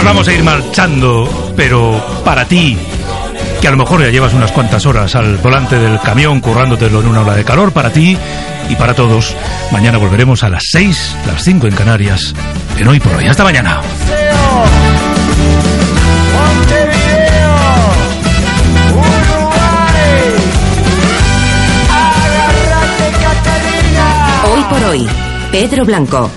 Nos vamos a ir marchando, pero para ti, que a lo mejor ya llevas unas cuantas horas al volante del camión currándotelo en una ola de calor, para ti y para todos, mañana volveremos a las 6, las 5 en Canarias, en Hoy por Hoy. Hasta mañana. Hoy por Hoy, Pedro Blanco.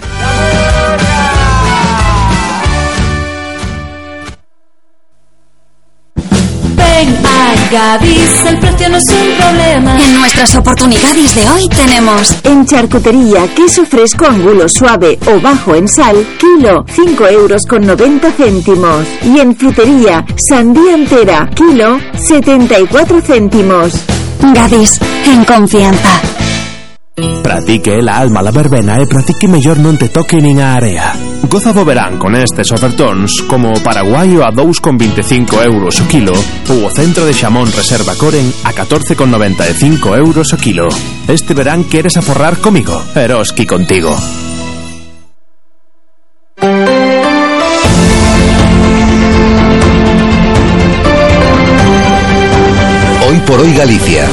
Ven a Gadis, el precio no es un problema. En nuestras oportunidades de hoy tenemos: en charcutería, queso fresco angulo suave o bajo en sal, kilo, 5,90 €. Y en frutería, sandía entera, kilo, 74 céntimos. Gadis, en confianza. Pratique la alma la verbena e pratique mellor non te toque nin a area. Goza do verán con estes ofertóns como o paraguaio a 2,25 € o kilo ou o centro de xamón reserva Coren a 14,95 € o kilo. Este verán queres aforrar comigo, Eroski contigo. Hoy por Hoy Galicia.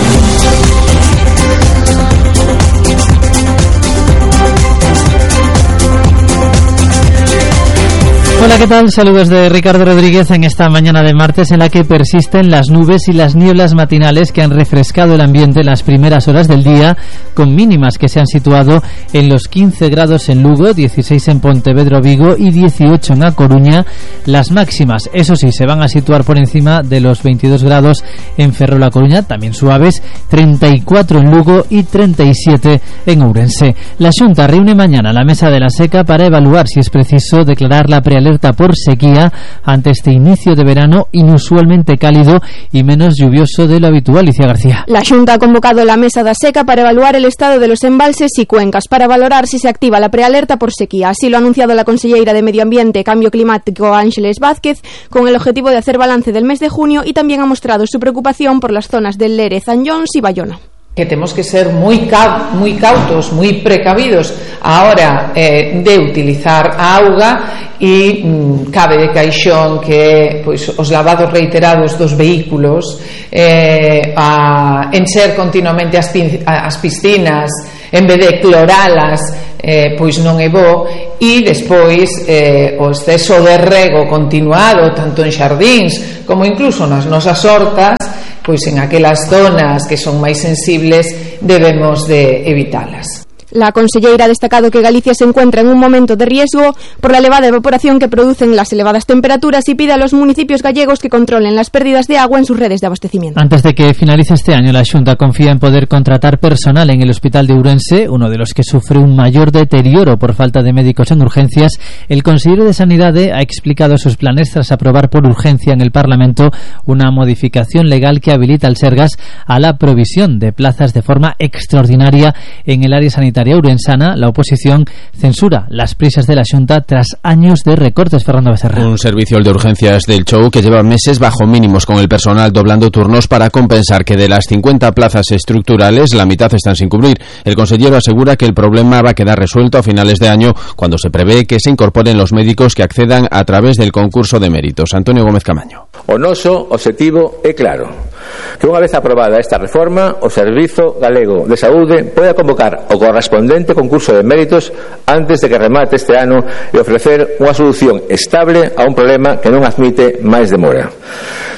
Hola, ¿qué tal? Saludos de Ricardo Rodríguez en esta mañana de martes en la que persisten las nubes y las nieblas matinales que han refrescado el ambiente en las primeras horas del día, con mínimas que se han situado en los 15 grados en Lugo, 16 en Pontevedra, Vigo y 18 en A Coruña. Las máximas, eso sí, se van a situar por encima de los 22 grados en Ferrol, A Coruña, también suaves, 34 en Lugo y 37 en Ourense. La Xunta reúne mañana la Mesa de la Seca para evaluar si es preciso declarar la prealerta por sequía ante este inicio de verano inusualmente cálido y menos lluvioso de lo habitual. Alicia García. La Xunta ha convocado la Mesa da Seca para evaluar el estado de los embalses y cuencas, para valorar si se activa la prealerta por sequía. Así lo ha anunciado la conselleira de Medio Ambiente y Cambio Climático, Ángeles Vázquez, con el objetivo de hacer balance del mes de junio, y también ha mostrado su preocupación por las zonas del Lere, Zanyons y Bayona. Que temos que ser moi cautos, moi precavidos a hora de utilizar a auga e cabe de caixón que pois, os lavados reiterados dos vehículos, encher continuamente as piscinas en vez de cloralas, pois non é bo, e despois o exceso de rego continuado tanto en xardíns como incluso nas nosas hortas, pois en aquelas zonas que son máis sensibles debemos de evitalas. La conselleira ha destacado que Galicia se encuentra en un momento de riesgo por la elevada evaporación que producen las elevadas temperaturas y pide a los municipios gallegos que controlen las pérdidas de agua en sus redes de abastecimiento. Antes de que finalice este año, la Xunta confía en poder contratar personal en el Hospital de Ourense, uno de los que sufre un mayor deterioro por falta de médicos en urgencias. El consejero de Sanidad ha explicado sus planes tras aprobar por urgencia en el Parlamento una modificación legal que habilita al Sergas a la provisión de plazas de forma extraordinaria en el área sanitaria ourensana. La oposición censura las prisas de la Xunta tras años de recortes. Fernando Becerra. Un servicio, el de urgencias del Chou, que lleva meses bajo mínimos con el personal doblando turnos para compensar que de las 50 plazas estructurales la mitad están sin cubrir. El consejero asegura que el problema va a quedar resuelto a finales de año, cuando se prevé que se incorporen los médicos que accedan a través del concurso de méritos. Antonio Gómez Camaño. O noso objetivo é claro, que unha vez aprobada esta reforma, o Servizo Galego de Saúde poda convocar o correspondente concurso de méritos antes de que remate este ano e ofrecer unha solución estable a un problema que non admite máis demora.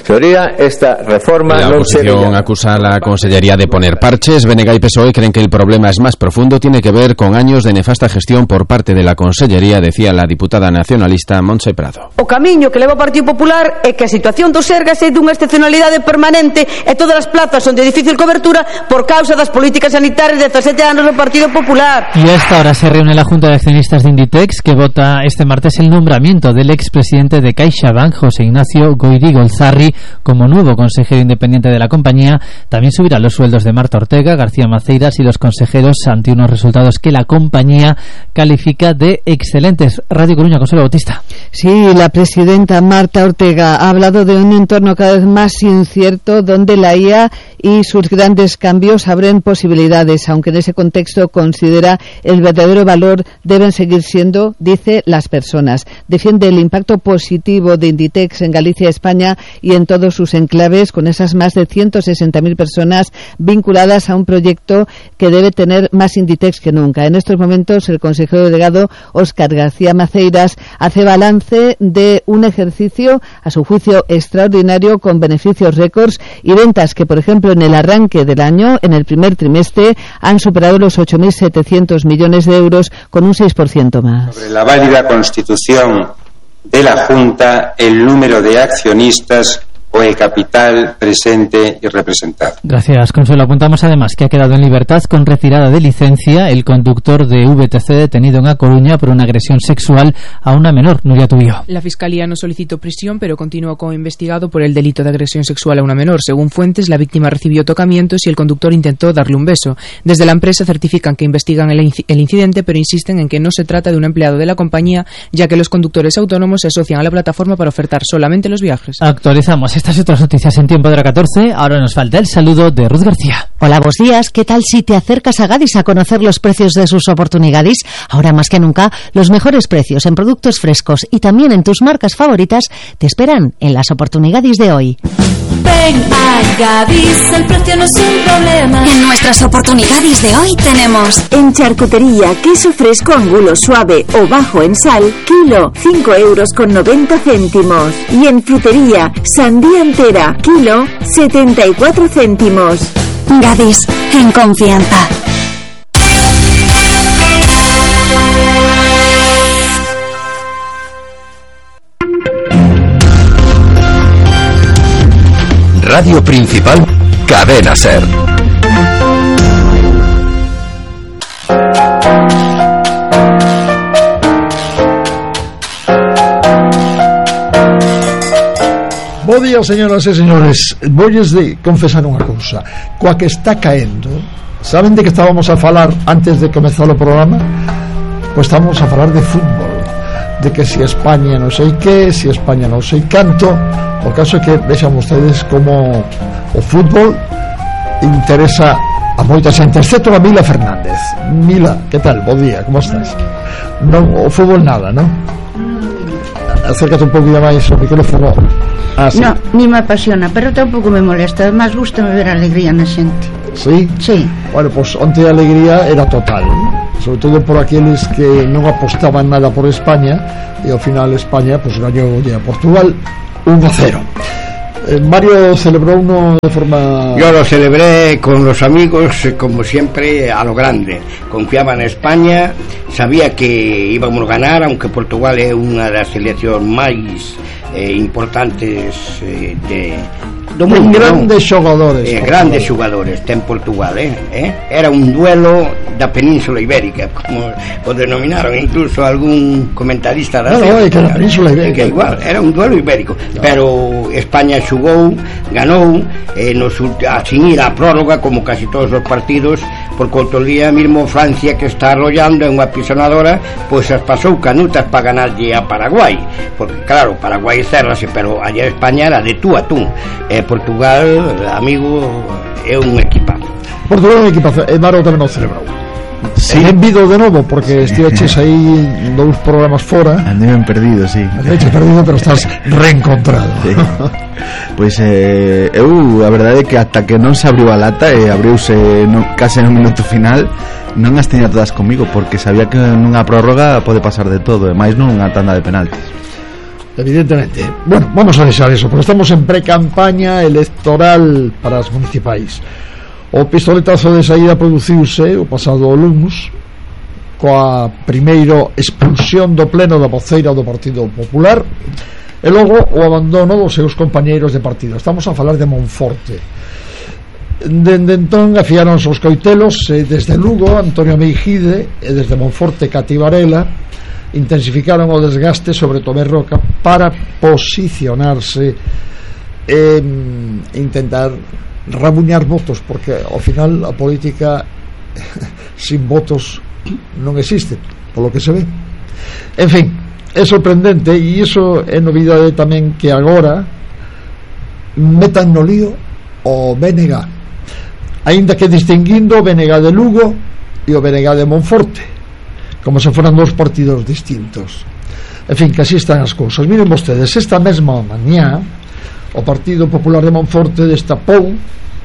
Señoría, esta reforma la oposición acusa a la Consellería de poner parches. BNG y PSOE creen que el problema es más profundo, tiene que ver con años de nefasta gestión por parte de la Consellería, decía la diputada nacionalista Montse Prado. O camiño que leva o Partido Popular é que a situación do Sergas é dunha excepcionalidade permanente e todas as plazas son de difícil cobertura por causa das políticas sanitarias de 17 anos do Partido Popular. Y a esta hora se reúne la Junta de Accionistas de Inditex, que vota este martes el nombramiento del expresidente de CaixaBank, José Ignacio Goyri Golzarri, como nuevo consejero independiente de la compañía. También subirá los sueldos de Marta Ortega, García Maceiras y los consejeros ante unos resultados que la compañía califica de excelentes. Radio Coruña, Consuelo Bautista. Sí, la presidenta Marta Ortega ha hablado de un entorno cada vez más incierto donde la IA y sus grandes cambios abren posibilidades, aunque en ese contexto considera el verdadero valor deben seguir siendo, dice, las personas. Defiende el impacto positivo de Inditex en Galicia, España y en todos sus enclaves, con esas más de 160.000 personas vinculadas a un proyecto que debe tener más Inditex que nunca. En estos momentos, el consejero delegado Óscar García Maceiras hace balance de un ejercicio, a su juicio, extraordinario, con beneficios récords y ventas que, por ejemplo, en el arranque del año, en el primer trimestre, han superado los 8.700 millones de euros, con un 6% más. Sobre la válida constitución de la Junta, el número de accionistas o el capital presente y representado. Gracias, Consuelo. Apuntamos además que ha quedado en libertad con retirada de licencia el conductor de VTC detenido en A Coruña por una agresión sexual a una menor. Nuria Tubío. La Fiscalía no solicitó prisión, pero continúa como investigado por el delito de agresión sexual a una menor. Según fuentes, la víctima recibió tocamientos y el conductor intentó darle un beso. Desde la empresa certifican que investigan el incidente, pero insisten en que no se trata de un empleado de la compañía, ya que los conductores autónomos se asocian a la plataforma para ofertar solamente los viajes. Actualizamos estas y otras noticias en tiempo de la 14. Ahora nos falta el saludo de Ruth García. Hola, buenos días. ¿Qué tal si te acercas a Gadis a conocer los precios de sus oportunidades? Ahora más que nunca, los mejores precios en productos frescos y también en tus marcas favoritas te esperan en las oportunidades de hoy. Ven a Gadis, el precio no es un problema. En nuestras oportunidades de hoy tenemos: en charcutería, queso fresco angulo suave o bajo en sal, kilo, 5,90 €. Y en frutería, sandía entera, kilo, 74 céntimos. Gadis, en confianza. Radio Principal, Cadena SER. Bo día, señoras e señores. Voulles de confesar unha cousa. Coa que está caendo, saben de que estábamos a falar antes de comezar o programa? Pois estábamos a falar de fútbol, de que si España non sei que, si España non sei canto. O caso é que vexan ustedes como o fútbol interesa a moita xente, excepto a Mila Fernández. Mila, que tal? Bo día, como estás? Non, o fútbol nada, non? Acércate un pouquinho máis o micrófono. Sí. No, ni me apasiona, pero tampouco me molesta. Además, gusta ver a alegría na xente. Sí? Sí. Bueno, pues onte a alegría era total, sobre todo por aqueles que non apostaban nada por España, e ao final España pues gañou a Portugal 1-0. Mario celebró uno de forma... Yo lo celebré con los amigos, como siempre, a lo grande. Confiaba en España, sabía que íbamos a ganar, aunque Portugal es una de las selecciones más importantes do mundo, grandes xogadores, grandes xogadores ten Portugal, era un duelo da Península Ibérica, como o denominaron incluso algún comentarista da que era Península Ibérica, que igual era un duelo ibérico, pero España xugou, ganou, sin ir a prórroga como casi todos os partidos, porque outro día mesmo Francia, que está arrollando en unha pisonadora, pois as pasou canutas para ganarlle a Paraguai, porque claro, Paraguai cerrase, pero allá España era de tú a tú. Portugal, amigo, é un equipazo. Portugal é un equipazo, e Maro tamén o celebrou. Sí. Envido de novo, porque estiveches aí dous programas fora. Andei perdido, sí. Andei perdido, pero estás reencontrado. Sí. Pois eu, a verdade é que ata que non se abriu a lata e abriuse case no minuto final, non as tiña todas comigo, porque sabía que nunha prórroga pode pasar de todo, e máis nunha tanda de penaltis. Evidentemente. Bueno, vamos a deixar eso, porque estamos en pre-campaña electoral para as municipais. O pistoletazo de saída produciuse o pasado luns coa primeiro expulsión do pleno da voceira do Partido Popular e logo o abandono dos seus compañeiros de partido. Estamos a falar de Monforte. Dende entón afiáronse os coitelos e desde Lugo Antonio Meijide e desde Monforte Cati Varela intensificaron o desgaste sobre Tomé Roca para posicionarse intentar rabuñar votos, porque ao final a política sin votos non existe, polo que se ve. En fin, é sorprendente, e iso é novidade tamén, que agora metan no lío o BNG, aínda que distinguindo o BNG de Lugo e o BNG de Monforte, como se foran dous partidos distintos. En fin, que así están as cousas. Miren vostedes, esta mesma mañá o Partido Popular de Monforte destapou,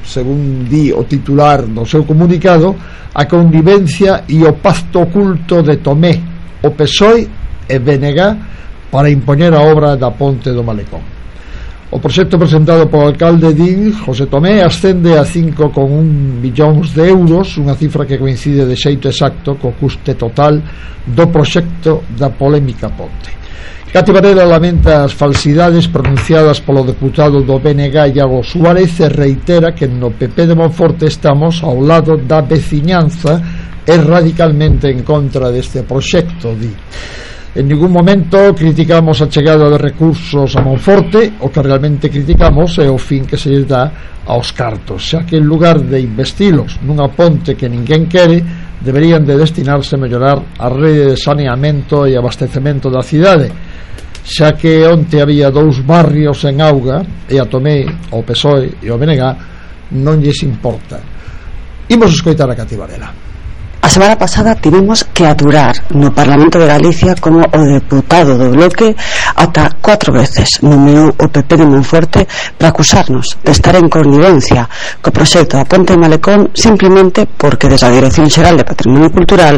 según di o titular do seu comunicado, a convivencia e o pacto oculto de Tomé, o PSOE e BNG para impoñer a obra da ponte do Malecón. O proxecto presentado polo alcalde Din, José Tomé, ascende a 5,1 millóns de euros, unha cifra que coincide de xeito exacto co custe total do proxecto da polémica ponte. Cati Varela lamenta as falsidades pronunciadas polo deputado do BNG Iago Suárez e reitera que no PP de Monforte estamos ao lado da veciñanza e radicalmente en contra deste proxecto, di. En ningún momento criticamos a chegada de recursos a Monforte, o que realmente criticamos é o fin que se lles dá aos cartos, xa que en lugar de investilos nunha ponte que ninguén quere, deberían de destinarse a mellorar a rede de saneamento e abastecemento da cidade, xa que onte había 2 barrios en auga e a Tomé, o PSOE e o BNG non lles importa. Imos escoitar a Cati Varela. A semana pasada tivemos que aturar no Parlamento de Galicia como o deputado do Bloque ata 4 veces nomeou o PP de Monforte para acusarnos de estar en connivencia co proxecto da ponte de Malecón, simplemente porque desde a Dirección Xeral de Patrimonio Cultural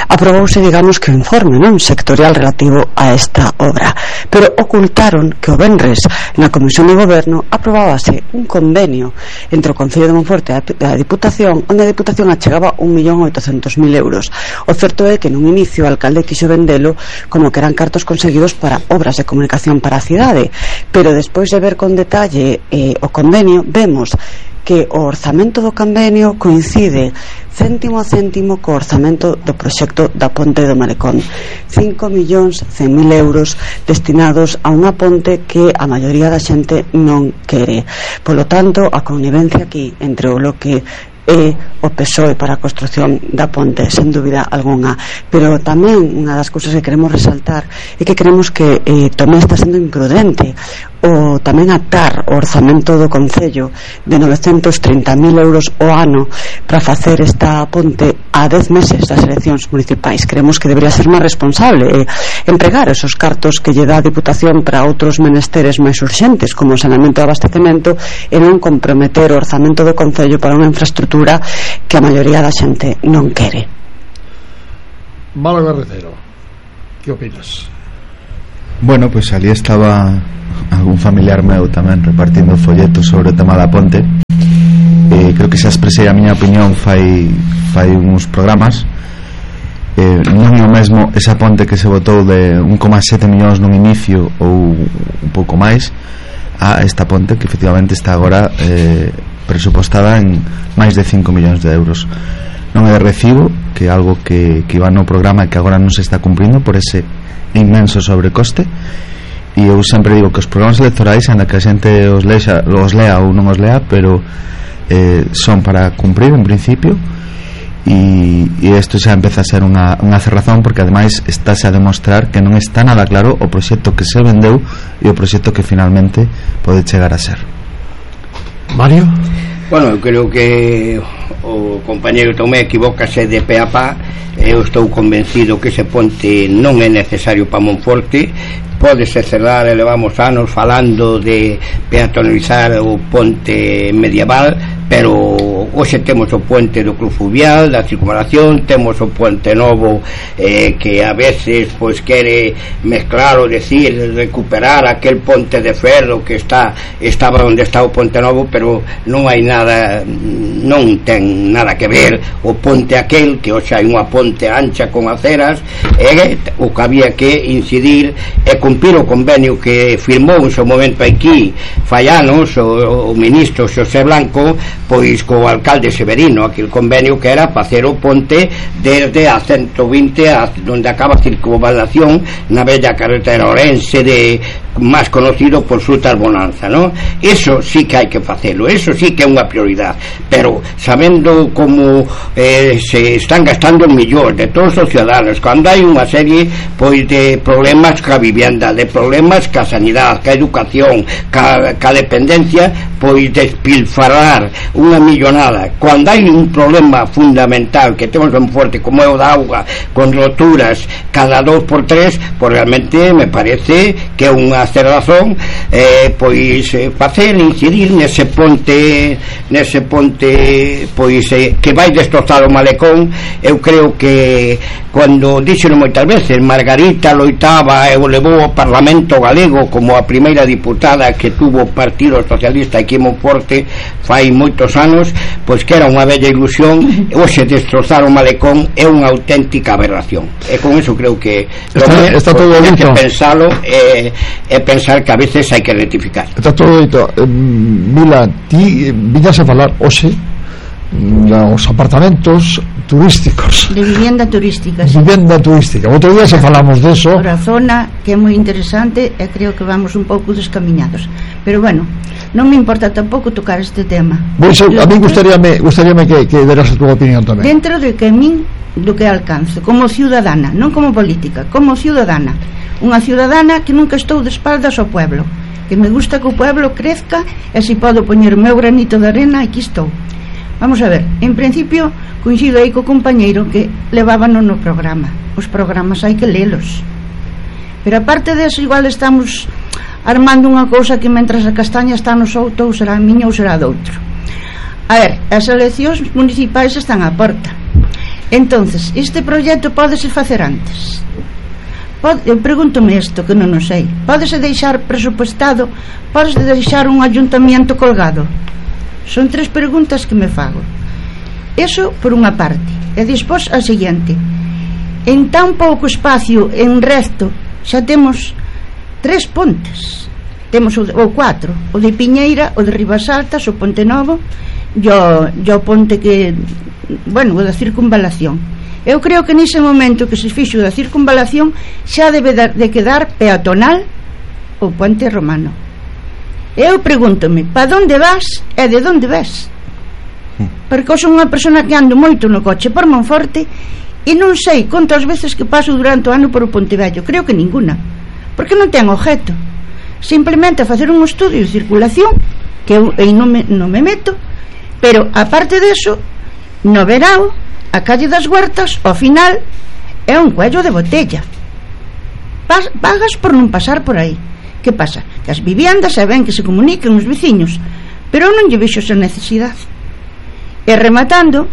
aprobouse, digamos, que o informe sectorial relativo a esta obra, pero ocultaron que o venres na Comisión de Goberno aprobábase un convenio entre o Concello de Monforte e a Diputación, onde a Diputación achegaba 1.800.000 euros. O certo é que nun inicio o alcalde quixo vendelo como que eran cartos conseguidos para obras de comunicación para a cidade, pero despois de ver con detalle o convenio, vemos que o orzamento do convenio coincide céntimo a céntimo co orzamento do proxecto da ponte do Malecón, 5.100.000 euros destinados a unha ponte que a maioría da xente non quere. Polo tanto, a connivencia aquí entre o Bloque e o PSOE para a construción da ponte, sen dúbida algunha. Pero tamén unha das cousas que queremos resaltar é que creemos que Tomé está sendo imprudente o tamén atar o orzamento do Concello de 930.000 euros o ano para facer esta ponte a 10 meses das eleccións municipais. Creemos que debería ser máis responsable empregar esos cartos que lle dá a Diputación para outros menesteres máis urxentes, como o saneamento e abastecemento, e non comprometer o orzamento do Concello para unha infraestructura que a maioría da xente non quere. Málaga Recero, que opinas? Bueno, pues ali estaba algún familiar meu tamén repartindo folletos sobre o tema da ponte. Creo que xa expresei a miña opinión fai uns programas. Non é o mesmo esa ponte que se botou de 1,7 millóns nun inicio ou un pouco máis a esta ponte que efectivamente está agora presupostada en máis de 5 millóns de euros. Non é de recibo que algo que iba no programa e que agora non se está cumprindo por ese inmenso sobrecoste. E eu sempre digo que os programas electorais, ainda que a xente os lea ou non os lea, pero son para cumprir en principio, e isto xa empeza a ser unha cerrazón, porque ademais estáse a demostrar que non está nada claro o proxecto que se vendeu e o proxecto que finalmente pode chegar a ser. Mario? Bueno, eu creo que o compañeiro Tomé equivócase de pé a pá. Eu estou convencido que ese ponte non é necesario para Monforte. Pódese cerrar, e levamos anos falando de peatonalizar o ponte medieval, pero hoxe temos o puente do Club Fluvial, da circunvalación, temos o puente novo que a veces pois quere mezclar ou decir recuperar aquel ponte de ferro que estaba onde está o ponte novo, pero non hai nada, non ten nada que ver o ponte aquel que hoxe hai unha ponte ancha con aceras, e o que había que incidir é que cumprir o convenio que firmou en seu momento aquí fai anos o ministro Xosé Blanco, pois co alcalde Severino, aquel convenio que era facer o ponte desde a 120 a onde acaba a circunvalación na bella carretera orense de máis conocido por Frutas Bonanza, ¿no? Eso sí que hai que facelo, eso sí que é unha prioridade, pero sabendo como se están gastando millóns de todos os ciudadanos, cando hai unha serie pois de problemas ca vivienda, de problemas ca sanidade, ca educación, ca dependencia, pois despilfarrar unha millonada, cando hai un problema fundamental que temos ben forte como é o da auga, con roturas cada 2x3, pois realmente me parece que é unha razón pois facer incidir nese ponte pois que vai destrozar o malecón. Eu creo que cando dixeron moitas veces Margarita loitaba e o levou ao Parlamento galego como a primeira diputada que tuvo o Partido Socialista aquí en Monforte fai moitos anos, pois que era unha bella ilusión. Hoxe destrozar o malecón é unha auténtica aberración, e con eso creo que está todo hai dito. que pensalo pensar que a veces hai que rectificar. Está todo dito. Mila, ti viñas a falar hoxe dos apartamentos turísticos, de vivienda turística, sí. Vivienda turística. Outro día se falamos de eso. Por a zona que é moi interesante e creo que vamos un pouco descamiñados. Pero bueno, non me importa tampouco tocar este tema. Pois a mí gustaríame que deras a túa opinión tamén. Dentro de que a min do que alcance como ciudadana, non como política, como ciudadana. Unha ciudadana que nunca estou de espaldas ao pueblo, que me gusta que o pueblo crezca, e se podo poñer o meu granito de arena, aquí estou. Vamos a ver, en principio coincido aí co compañeiro que levábano no programa. Os programas hai que lelos, pero aparte deso igual estamos armando unha cousa que mentras a castaña está no souto ou será a miña ou será doutro. A ver, as eleccións municipais están á porta, entonces este proxecto pódese facer antes. Eu pregúntome isto que non o sei. Pódese deixar presupuestado? Pódese deixar un ayuntamiento colgado? Son 3 preguntas que me fago. Eso por unha parte. E despois a seguinte: en tan pouco espacio en recto xa temos 3 pontes. Temos o 4, o de Piñeira, o de Ribas Altas, o Ponte Novo e o ponte que, bueno, o da circunvalación. Eu creo que nese momento que se fixo da circunvalación xa debe de quedar peatonal o puente romano. Eu pregúntome, pa onde vas e de onde ves? Porque eu son unha persona que ando moito no coche por Monforte e non sei contas veces que paso durante o ano por o Pontevello. Creo que ninguna, porque non ten objeto, simplemente a facer un estudio de circulación que eu non me meto. Pero aparte deso, no verao a calle das Huertas ao final é un cuello de botella. Pagas por non pasar por aí. Que pasa? Que as viviendas se ven que se comuniquen os veciños, pero eu non lle vexo esa necesidade. E rematando,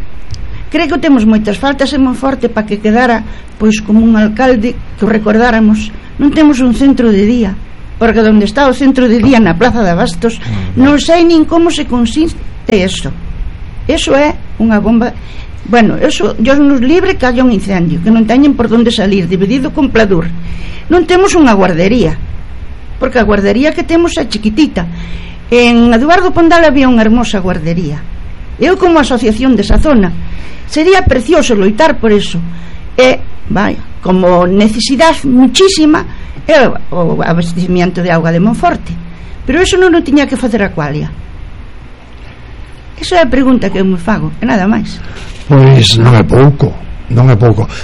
creo que temos moitas faltas en Monforte para que quedara pois como un alcalde que o recordáramos. Non temos un centro de día, porque onde está o centro de día na Plaza de Abastos non sei nin como se consiste eso. Eso é unha bomba. Bueno, eso, Dios nos libre que haya un incendio, que non teñen por onde salir, dividido con Pladur. Non temos unha guardería, porque a guardería que temos é chiquitita. En Eduardo Pondal había unha hermosa guardería. Eu, como asociación desa zona, sería precioso loitar por eso. E, vaya, como necesidade muchísima é o abastecimiento de auga de Monforte. Pero eso non o tiña que facer a Qualia. Esa é a pregunta que eu me fago, e nada máis. Pois non é pouco.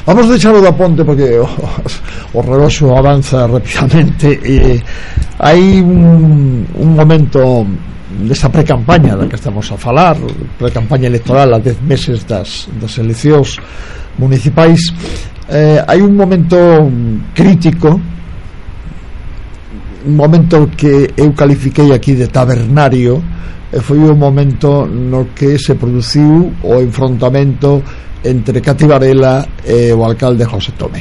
Vamos deixalo da ponte porque o reloxo avanza rapidamente e hai un momento desta precampaña da que estamos a falar, precampaña electoral a 10 meses das eleccións municipais. Hai un momento crítico, un momento que eu califiquei aquí de tabernario, e foi o momento no que se produciu o enfrontamento entre Cati Varela e o alcalde José Tomé,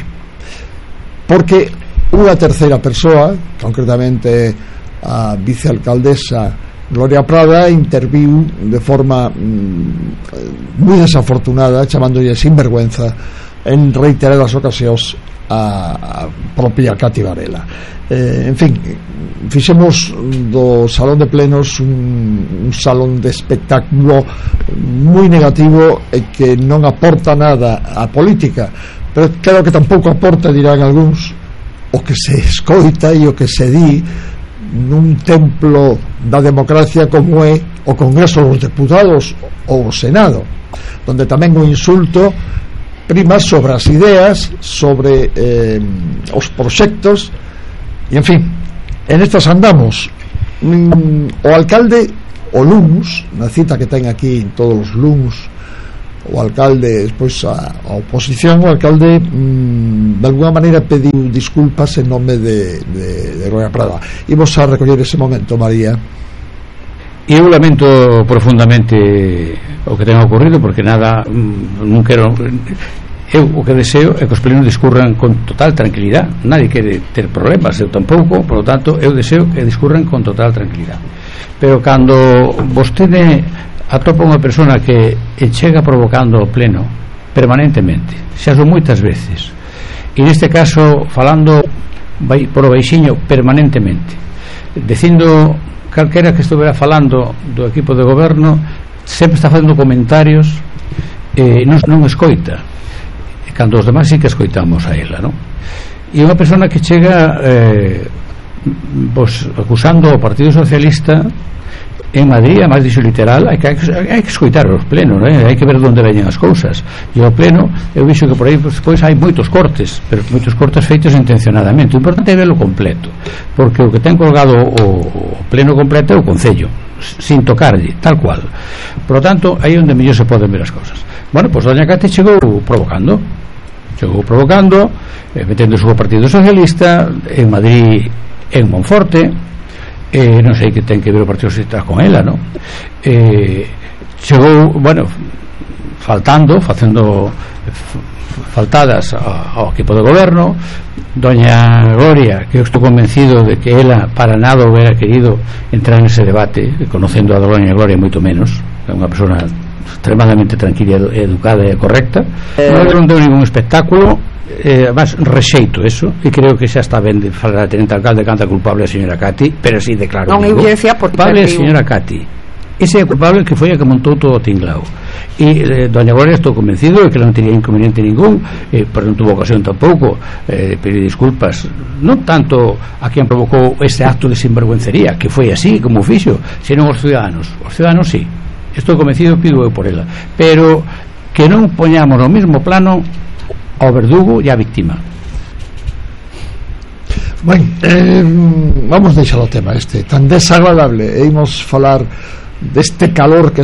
porque unha terceira persoa, concretamente a vicealcaldesa Gloria Prada, interviu de forma moi desafortunada, chamándolle sinvergüenza en reiteradas ocasións a propia Cati Varela. En fin, fixemos do salón de plenos un salón de espectáculo moi negativo e que non aporta nada á política, pero claro que tampouco aporta, dirán algúns, o que se escoita e o que se di nun templo da democracia como é o Congreso dos Deputados ou o Senado, donde tamén o insulto prima sobre as ideas, sobre os proxectos. E en fin, en estas andamos. O alcalde, o LUMS, na cita que ten aquí todos os LUMS, o alcalde, despois a oposición, o alcalde de alguna maneira pediu disculpas en nome de Roya Prada. Imos a recoller ese momento, María. E eu lamento profundamente o que ten ocurrido, porque nada, non quero... Eu o que deseo é que os plenos discurran con total tranquilidade. Nadie quere ter problemas, eu tampouco. Por lo tanto, eu deseo que discurran con total tranquilidade. Pero cando vostede atopa unha persona que chega provocando o pleno permanentemente, xa son moitas veces, e neste caso falando por o baixiño permanentemente, dicindo calquera que estuvera falando do equipo de goberno, sempre está facendo comentarios e non escoita, cando os demais sí que escoitamos a ela, non? E unha persona que chega acusando ao Partido Socialista en Madrid, a máis dixo literal, hai que escoitar os plenos, hai que ver onde veñen as cousas, e o pleno eu vixo que por aí despois hai moitos cortes, pero moitos cortes feitos intencionadamente. O importante é verlo completo, porque o que ten colgado o pleno completo é o Concello, sin tocarlle, tal cual. Por lo tanto, aí onde mellor se poden ver as cousas. Bueno, pois doña Cate chegou provocando, metendo o seu Partido Socialista en Madrid, en Monforte, non sei que ten que ver o Partido Socialista con ela, non? Chegou, bueno, facendo faltadas ao equipo de goberno. Doña Gloria, que eu estou convencido de que ela para nada hubiera querido entrar nese debate, conocendo a doña Gloria moito menos, é unha persona extremadamente tranquila, educada e correcta. Non deu ningún espectáculo, mas rexeito eso, e creo que xa está ben de falar a tenente alcalde canta culpable a señora Cati, pero así de claro non evidencia por culpable a señora Cati, ese é culpable que foi a que montou todo o tinglao. E doña Gloria estou convencido de que non teria inconveniente ningún, pero non tuvo ocasión tampouco pedir disculpas, non tanto a quen provocou ese acto de sinvergüencería, que foi así como fixo, senón os ciudadanos sí, estou convencido, pido eu por ela, pero que non poñamos no mesmo plano ao verdugo e á víctima. Bueno, vamos deixar o tema este tan desagradable e imos falar deste calor que